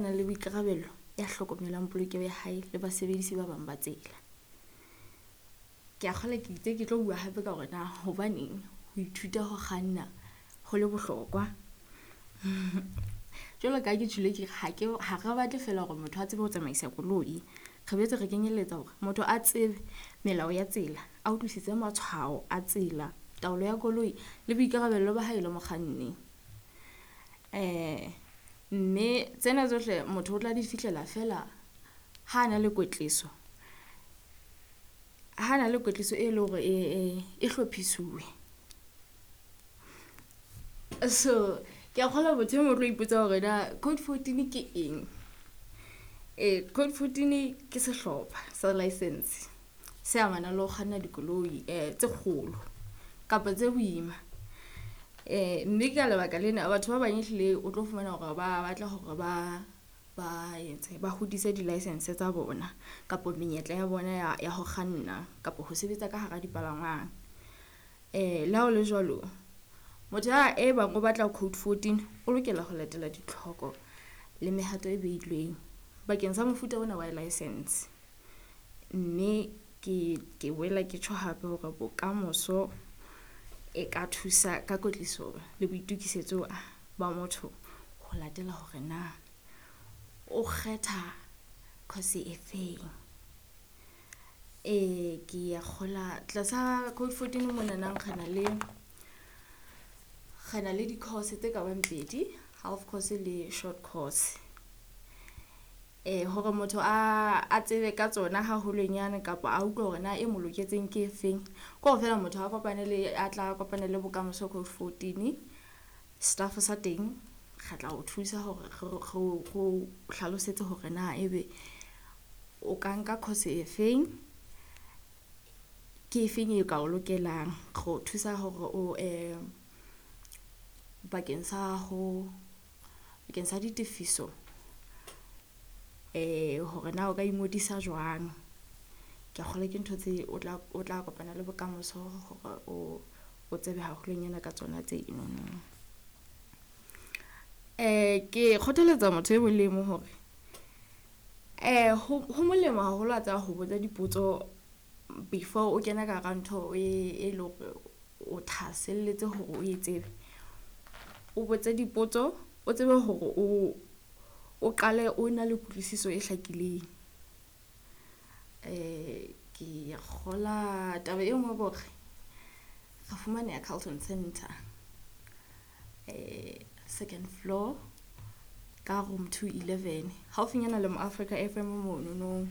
Nang le boikarabelo, ya hlokomelang polokeho ya hae le basebedisi ba bang ba tsela. Ke a kgolwa ke itse ke tlo bua hape ka hore na hobaneng ho ithuta ho kganna ho le bohlokwa. Jwalo ka ha ke tjholo ke re ha ke ha re batle fela hore motho a tsebe ho tsamaisa koloi. Re boetse re kenyelletsa hore motho a tsebe melao ya tsela, a utlwisise matshwao a tsela, taolo ya koloi le boikarabelo ba hae le mokganni. Mme tsena tsohle motho o tla di fihlela feela ha a na le kwetliso, ha na le kwetliso e leng hore e hlophisuwe. So ke a kgolwa motho e mong o tlo ipotsa hore na code 14 ke eng. Ee, code 14 ke sehlopha sa license se amanang le ho kganna dikoloi tse kgolo kapa tse boima. Mme ka lebaka lena batho ba bang ehlile o tlo fumana hore ba batla hore ba etse ba hodise di-licence tsa bona kapa menyetla ya bona ya ho kganna kapa ho sebetsa ka hara dipalangwang. Le ha hole jwalo, motho a e bang o batla code 14 o lokela ho latela ditlhoko le mehato e beilweng bakeng sa mofuta ona wa license. Mme ke boela ke tjho hape hore bokamoso e ka thusa ka kwetliso le boitokisetso ba motho ho latela hore na o kgetha course e feng. Ee, ke a kgola tlasa code 14 monanang re na le re na le di-course tse kabang pedi, half course le short course. Hore motho a tsebe ka tsona haholonyane kapa a utlwe hore na e mo loketseng ke efeng. Ke hore feela motho a kopane le a tla kopana le bokamoso code 14. Staff sa teng re tla o thusa hore re o hlalosetse hore na ebe o ka nka course e feng, ke efeng e ka o lokelang. Re o thusa hore o bakeng sa ho bakeng sa ditefiso hore na o ka ingodisa jwang. Ke a kgolwa ke ntho tse o tla kopana le bokamoso hore o tsebe haholonyana ka tsona tseno. Ke kgothaletsa motho e mong le mong hore ho molemo haholo a tseba ho botsa dipotso before o kena ka hara ntho e leng hore o thahaselletse hore o tsebe. O botse dipotso, o tsebe hore o qale o na le kutlwisiso e hlakileng. Ke kgola taba e nngwe ke hore re fumaneha Carlton Center second floor ka room 211 haufinyana le mo Africa FM monono.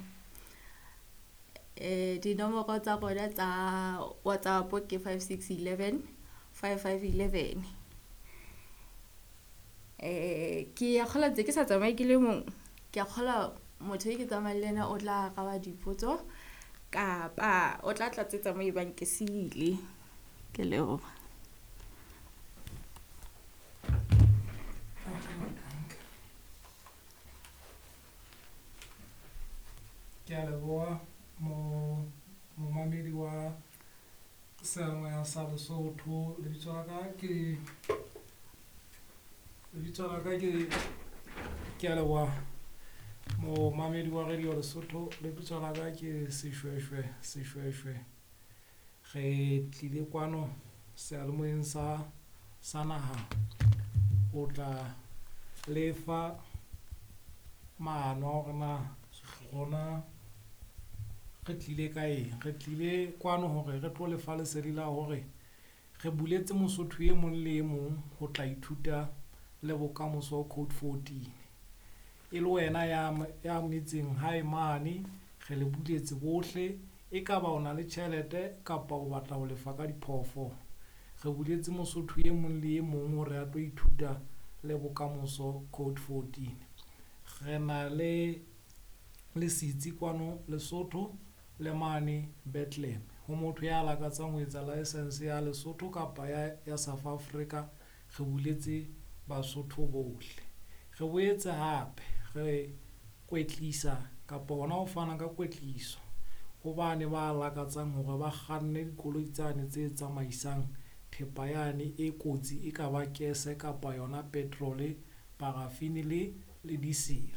Dinomoro tsa rona tsa WhatsApp ke 56 11 55 11. Ke a kgolwa ntse ke sa tsamaye ke le mong. Ke a kgolwa motho e ke tsamayang le ena o tla araba dipotso kapa o tla tlatsetsa mo ebang ke sile. Ke leboha. Ke a leboha mo momamedi wa seyalemoya sa Lesotho. Lebitso la ka ke lebitso la ka ke ke a leboha momamedi wa Radio Lesotho. Lebitso la ka ke Seshweshwe Seshweshwe. Re tlile kwano seyalemoyeng sa naha ho tla lefa maano a hore na rona re tlile ka eng. Re tlile kwano hore re tlo lefa lesedi la hore re buletse Mosotho e mong le e mong ho tla ithuta le bokamoso code 14. E le wena ya metseng hae mane, re le buletse bohle. E ka ba o na le tjhelete kapa o batla ho lefa ka diphoofolo. Re buletse Mosotho e mong le e mong hore a tlo ithuta le bokamoso code 14. Re na le le setsi kwano Lesotho le mane Bethlehem. Ho motho ya lakatsang ho etsa license ya Lesotho kapa ya South Africa, re buletse Basotho bohle. Re boetse hape re kwetlisa kapa hona ho fana ka kwetliso ho bane ba lakatsang hore ba kganne dikoloi tsane tse tsamaisang thepa yane e kotsi, e ka ba kese kapa yona petrol, paraffin le Le diesel.